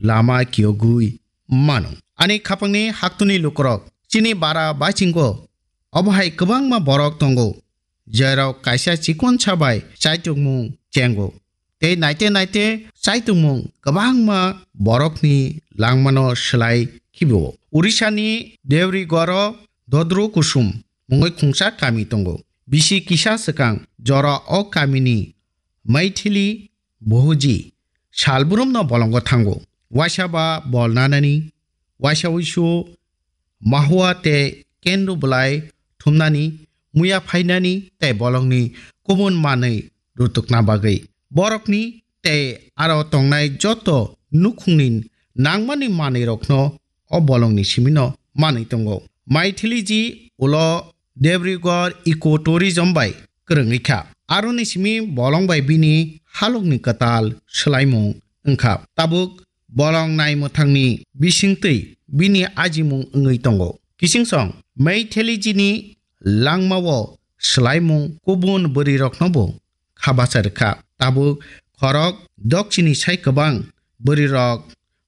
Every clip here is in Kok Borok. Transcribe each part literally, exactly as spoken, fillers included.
lama kiyogwi mano. Ani khapangni haktuni lukurok, chini bara baisingo obo hai kwbangma borok tongo, jerok kaisa chikonsa bai chaitokmung chengo. Tei naite naite chaitokmung kwbangma borokni langmano slai khibo. Urisani Devrigoro Dodro Kusum mungwi khungsa kami tongo. Bisi kisa swkang jora o kamini Maithili Bohuji salbrumno bolongo thango. Waisa ba bol nanani, waisa uisu mahua tei kendu bwlai thumnani, muya phainani tei bolongni kubun manwi rutukna bagwi. Borokni tei aro tongnai joto nukhungni nangmani manwirokno o bolongni simino manwi tongo. Maithiliji ulo Debrigor ecotourism bai kwrwngwi kha. Aroni simi bolong bai bini halokni kwtal swlaimung wngkha. Tabuk bolong naimwthangni bisingtwi bini ajimung wngwi tongo. Kichingsong Maithiliji ni langmao swlaimung kubun bwrwiroknobo kha bacha rwkha. Tabuk khorok dokchini sai kwbang bwrwirok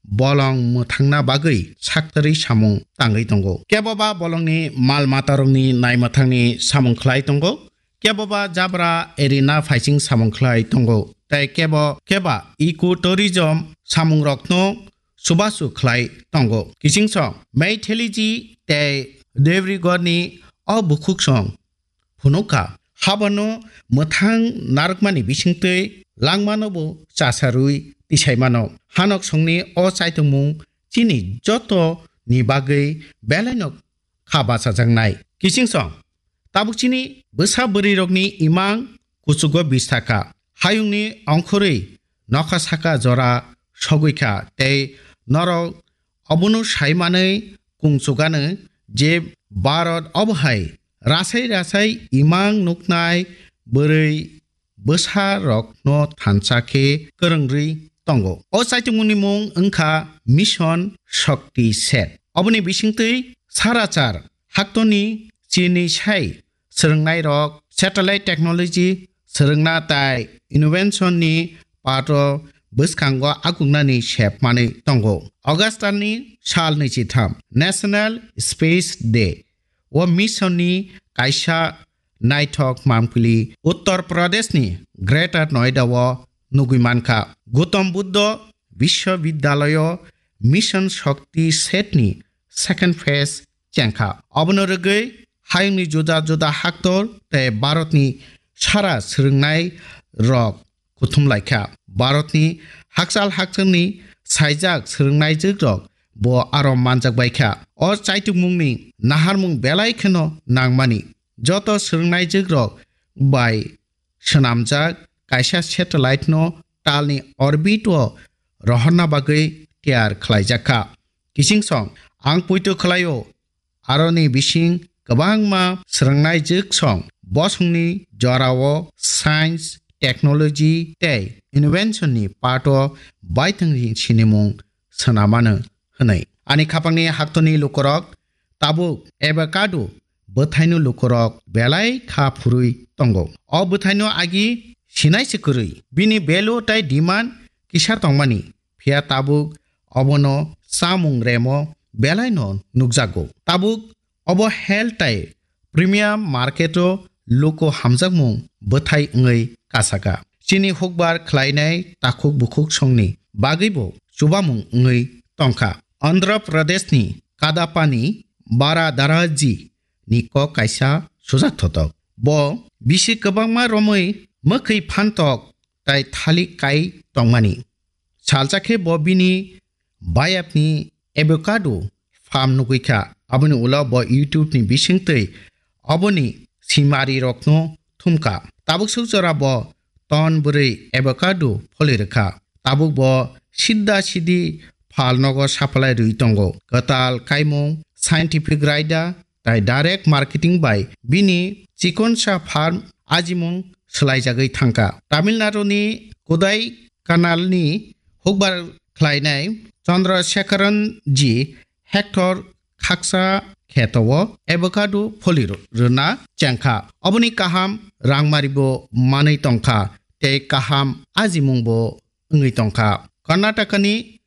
bolong mwthangna bagwi saktarwi samung tangwi tongo. Keboba bolongni mal matarokni naimwthangni samung khlai tongo, keboba jabra erina phaising samung khlai tongo, tei kebo keba ecotourism samungrokno chubachu khlai tongo. Kichingsong Maithiliji tei Devrigorni o bukhuksong phunukha. Habono mwthang narwkmani bisingtwi langmanobo chasarwi tisaimano. Hanoksongni o chaitokmung chini joto ni bagwi belaino kha bachajaknai. Kichingsong tabuk chini bwsa bwrwirokni imang kuchugo bistakha. Hayungni ongkhorwi nokha saka jora sogwi kha tei norok obono sai manwi kung chugano je Bharat obo hai rasai rasai imang nuknai bwrwi bwsa rokno thansa khe kwrwngwi tongo. O chaitokmungni mung wngkha Mission Shakti Set. Oboni bisingtwi sarachar haktoni chini sai swrwngnairok satellite technology swrwngna tai invention ni pato bwskango akuknani sep manwi tongo. August ni sal naichitham National Space Day. O mission ni kaisa naithok mampili Uttar Pradesh ni Greater Noida o nugwi mankha. Gautam Buddha Vishwavidyalayo Mission Shakti Set ni second phase chengkha. Obono rwgwi hayungni juda juda haktor tei Bharatni sara swrwngnai rok kuthum laikha. Bharatni hakchal hakchangni saijak swrwngnaijwk rok bo aro manjak baikha. O chaitukmungni naharmung belai kheno nangmani. Joto swrwngnaijwk rok bai swnamjak kaisa satellite no talni orbit o rohorna bagwi tiyar khlaijakha. Kichingsong ang poito khlaio, aroni bising kwbangma swrwngnaijwk song bosongni jorao science, technology tei invention ni pato baithang sinimung swnamano hwnwi. Ani khapangni haktoni lukurok tabuk avocado bwthaino lukurok belai kha phurwi tongo. O bwthaino agi sinai se kwrwi. Bini value tei demand kisa tongmani, phiya tabuk obono chamung remo belaino nukjago. Tabuk obo health tei premium market o luku hamjakmung bwthai wngwi kasaka. Chini hukbar khlainai takhuk bukhuk songni bagwibo chubamung wngwi tongkha. Andhra Pradesh ni Kadapani Baradaraji ni kok kaisa sujak thotok. Bo bisi kwbangma romwi mwkhwi phantok tai thalik kai tongmani. Salsa khe bo bini bayapni avocado farm nugwi kha. Aboni ulo bo YouTube ni bisingtwi oboni simari rokno thumkha. Tabuk suk jora bo ton bwrwi avocado pholi rwkha. Tabuk bo sidda sidi phal nogo supply rwi tongo. Kwtal kaimung, scientific raida, tai direct marketing bai bini chikonsa farm ajimung swlaijagwi thangkha. Tamil Nadu ni Kodai Kanal ni hukbar khlainai Chandra Sekharan ji hectare khaksa kheto o avocado pholi rw-, rwna chengkha. Oboni kaham rangmari bo manwi tongkha tei kaham ajimung bo wngwi tongkha. Karnataka ni